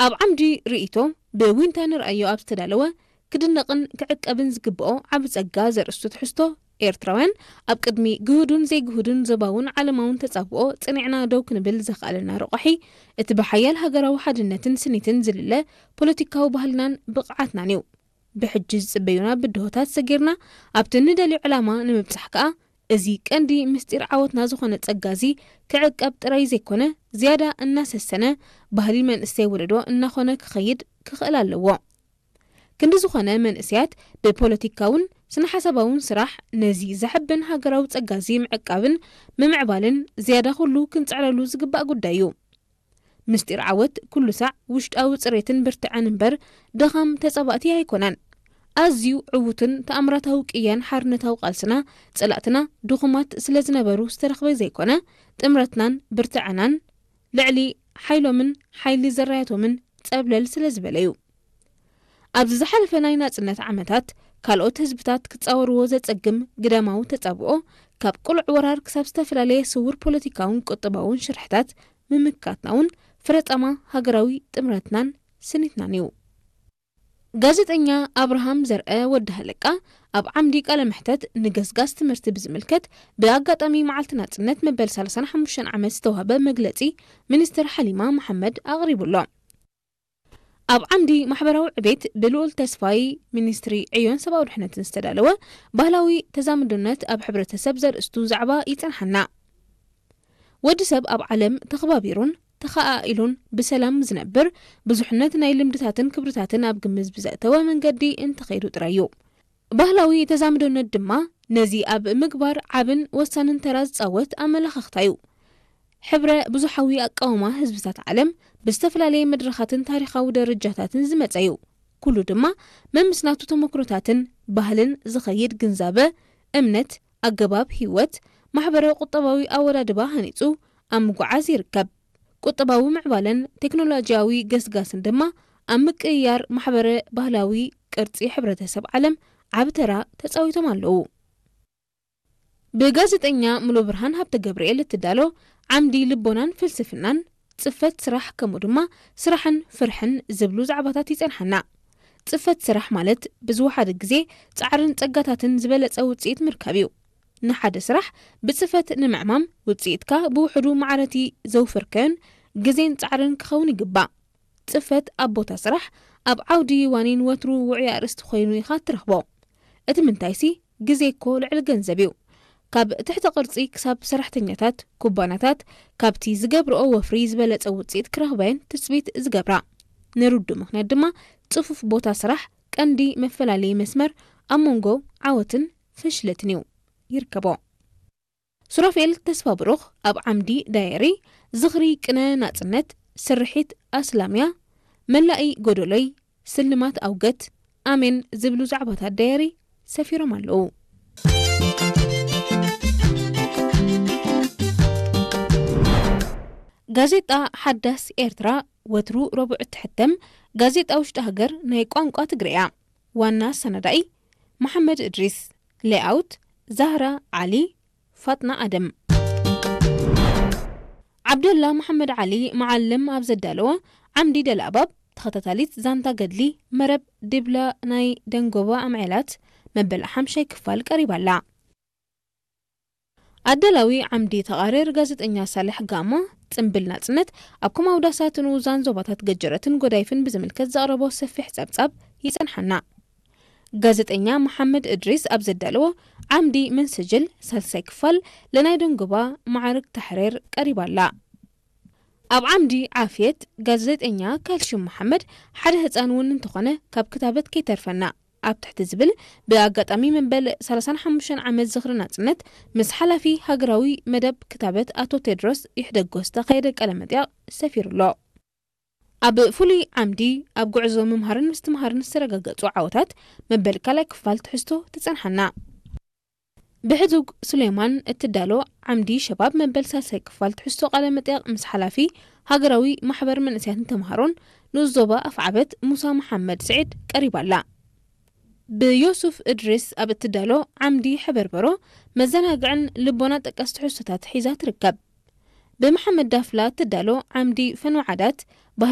ኣብ ዓምዲ ርእይቶ ብዊንታ ንርኣዮ ኣብ ዝተዳለወ ክድነቕን ክዕቀብን ዝግብኦ ዓቢ ጸጋ ዘርእስቱ ትሕዝቶ፣ ኤርትራውያን ኣብ ቅድሚ ግሁዱን ዘይግሁዱን ዞባውን ዓለማውን ተጻብኦ ጽኒዕና ደው ክንብል ዘኽኣለና ረቋሒ፣ እቲ ብሓያል ሃገራዊ ሓድነትን ስኒትን ዝልለ ፖለቲካዊ ባህልናን ብቕዓትናን እዩ። ብሕጂ ዝጽበዩና ብድሆታት ሰጊርና ኣብቲ ንደልዮ ዕላማ ንምብጻሕ ከኣ፣ እዚ ቀንዲ ምስጢር ዓወትና ዝኾነ ጸጋ እዚ ክዕቀብ ጥራይ ዘይኮነ፣ ዝያዳ እናሰሰነ፣ ባህሊ መንእሰይ ወለዶ እናኾነ ክኸይድ ክኽእል ኣለዎ። ክንዲ ዝኾነ መንእሰያት ብፖለቲካውን ስነ ሓሳባውን ስራሕ ነዚ ዘሐብን ሃገራዊ ጸጋ እዚ ምዕቃብን ምምዕባልን ዝያዳ ኩሉ ክንጽዕረሉ ዝግባእ ጉዳይ እዩ። ምስጢር ዓወት ኩሉ ሳዕ ውሽጣዊ ጽሬትን ብርትዐን እምበር ድኻም ተጻባእቲ ኣይኮነን። ኣዝዩ ዕዉትን ተኣምራታዊ ቅያን ሓርነታዊ ቃልስና ጸላእትና ድኹማት ስለ ዝነበሩ ዝተረኽበ ዘይኮነ፣ ጥምረትናን ብርትዐናን ልዕሊ ሓይሎምን ሓይሊ ዘራያቶምን ጸብለል ስለ ዝበለ እዩ። ኣብዚ ዝሓለፈ ናይ ናጽነት ዓመታት፣ ካልኦት ህዝብታት ክጻወርዎ ዘጸግም ግዳማዊ ተጻብኦ፣ ካብ ቅሉዕ ወራር ክሳብ ዝተፈላለየ ስውር ፖለቲካውን ቁጠባውን ሽርሕታት ምምካትና እውን ፍረጻማ ሃገራዊ ጥምረትናን ስኒትናን እዩ። ጋዜጠኛ ኣብርሃም ዘርአ ወዲ ሃለቃ ኣብ ዓምዲ ቃለ መሕተት ንገስጋስ ትምህርቲ ብዝምልከት ብኣጋጣሚ መዓልቲ ናጽነት መበል ሰላሳን ሓሙሽተን ዓመት ዝተዋህበ መግለጺ ሚኒስትር ሓሊማ መሓመድ ኣቕሪቡ ኣሎ። ኣብ ዓምዲ ማሕበራዊ ዕቤት ብልኡል ተስፋይ ሚኒስትሪ ዕዮን ሰብኣዊ ድሕነትን ዝተዳለወ ባህላዊ ተዛምዶነት ኣብ ሕብረተሰብ ዘርእስቱ ዛዕባ ይጸንሓና። ወዲ ሰብ ኣብ ዓለም ተኸባቢሩን ተኸኣኢሉን ብሰላም ዝነብር ብዙሕነት ናይ ልምድታትን ክብርታትን ኣብ ግምት ብዘእተወ መንገዲ እንተኸይዱ ጥራይ እዩ። ባህላዊ ተዛምዶነት ድማ ነዚ ኣብ ምግባር ዓብን ወሳንን ተራ ዝጻወት ኣመላኻኽታ እዩ። ሕብረ ብዙሓዊ ኣቃውማ ህዝብታት ዓለም ብዝተፈላለየ መድረኻትን ታሪኻዊ ደረጃታትን ዝመጸ እዩ። ኩሉ ድማ መምስ ናቱ ተመክሮታትን ባህልን ዝኸይድ ግንዛበ፣ እምነት፣ ኣገባብ ህይወት፣ ማሕበረ ቁጠባዊ ኣወዳድባ ሃኒጹ ኣብ ምጉዓዝ ይርከብ። ቁጠባዊ ምዕባለን ቴክኖሎጂያዊ ገስጋስን ድማ ኣብ ምቅይያር ማሕበረ ባህላዊ ቅርጺ ሕብረተሰብ ዓለም ዓቢ ተራ ተጻዊቶም ኣለዉ። ብጋዜጠኛ ሙሉ ብርሃን ሃብተ ገብርኤል እትዳሎ ዓምዲ ልቦናን ፍልስፍናን፣ ጽፈት ስራሕ፣ ከምኡ ድማ ስራሕን ፍርሕን ዝብሉ ዛዕባታት ይጸንሓና። ጽፈት ስራሕ ማለት ብዝወሓደ ግዜ ጻዕርን ጸጋታትን ዝበለጸ ውጽኢት ምርካብ እዩ። ንሓደ ስራሕ ብጽፈት ንምዕማም ውጽኢትካ ብውሕዱ ማዕረቲ ዘውፈርካዮን ግዜን ጻዕርን ክኸውን ይግባእ። ጽፈት ኣብ ቦታ ስራሕ፣ ኣብ ዓውዲ ዋኒን ወትሩ ውዑይ ኣርእስቲ ኮይኑ ኢኻ እትረኽቦ። እቲ ምንታይሲ ግዜ እኮ ልዕሊ ገንዘብ እዩ። ካብ ትሕተ ቅርጺ ክሳብ ሰራሕተኛታት፣ ኩባንያታት ካብቲ ዝገብርኦ ወፍሪ ዝበለጸ ውጽኢት ክረኽባየን ትጽቢት ዝገብራ። ንርዱእ ምኽንያት ድማ ጽፉፍ ቦታ ስራሕ ቀንዲ መፈላለዪ መስመር ኣብ መንጎ ዓወትን ፍሽለትን እዩ። ይርከቦ። ሱራፌል ተስፋብሩኽ ኣብ ዓምዲ ዳየሪ ዝኽሪ ቅነ ናጽነት፣ ስርሒት ኣስላምያ፣ መላኢ ጎደሎይ፣ ስልማት ኣውገት፣ ኣሜን ዝብሉ ዛዕባታት ዳየሪ ሰፊሮም ኣለዉ። ጋዜጣ ሓዳስ ኤርትራ ወትሩ ረቡዕ እትሕተም ጋዜጣ ውሽጢ ሃገር ናይ ቋንቋ ትግርያ። ዋና ኣሰናዳኢ መሓመድ እድሪስ። ሌኣውት ዛህራ ዓሊ፣ ፋጥና ኣደም። ዓብደላ መሓመድ ዓሊ መዓልም ኣብ ዘዳለዎ ዓምዲ ደልኣባብ ተኸታታሊት ዛንታ ገድሊ መረብ ዲብላ ናይ ደንጎባ ኣምዔላት መበል ሓምሻይ ክፋል ቀሪባ ኣላ። ኣዳላዊ ዓምዲ ተቓርር ጋዜጠኛ ሳልሕ ጋማ፣ ጽምብል ናጽነት ኣብ ኮም ኣውዳሳት ንኡዛን ዞባታት ገጀረትን ጎዳይፍን ብዝምልከት ዘቕረቦ ሰፊሕ ጸብጻብ ይጸንሓና። ጋዜጠኛ መሓመድ እድሪስ ኣብ ዘዳለዎ ዓምዲ መንሰጀል ሳልሳይ ክፋል ለናይ ደንጎባ ማዕርግ ታሕሬር ቀሪባ ኣላ። ኣብ ዓምዲ ዓፍየት ጋዜጠኛ ካልሽም መሓመድ ሓደ ህጻን እውን እንተኾነ ካብ ክታበት ከይተርፈና ኣብ ትሕቲ ዝብል ብኣጋጣሚ መበል ሰላሳን ሓሙሽተን ዓመት ዝኽሪ ናጽነት ምስ ሓላፊ ሃገራዊ መደብ ክታበት ኣቶ ቴድሮስ ይሕደጎ ዝተኻየደ ቃለ መጠይቕ ሰፊሩ ኣሎ። ኣብ ፍሉይ ዓምዲ ኣብ ጉዕዞ ምምሃርን ምስትምሃርን ዝተረጋገጹ ዓወታት መበል ካልኣይ ክፋል ትሕዝቶ ትጸንሓና። ብሕቱግ ሱሌማን እትዳሎ ዓምዲ ሸባብ መበል ሳልሳይ ክፋል ትሕዝቶ ቃለ መጠይቕ ምስ ሓላፊ ሃገራዊ ማሕበር መንእሰያትን ተምሃሮን ንኡስ ዞባ ኣፍዓበት ሙሳ መሓመድ ስዒድ ቀሪባ ኣላ። ብዮሱፍ እድሪስ ኣብ እትዳሎ ዓምዲ ሕበርበሮ መዘናግዕን ልቦና ጠቀስ ትሕዝቶታት ሒዛ ትርከብ። ብመሓመድ ዳፍላ እትዳሎ ዓምዲ ፈንወ ዓዳት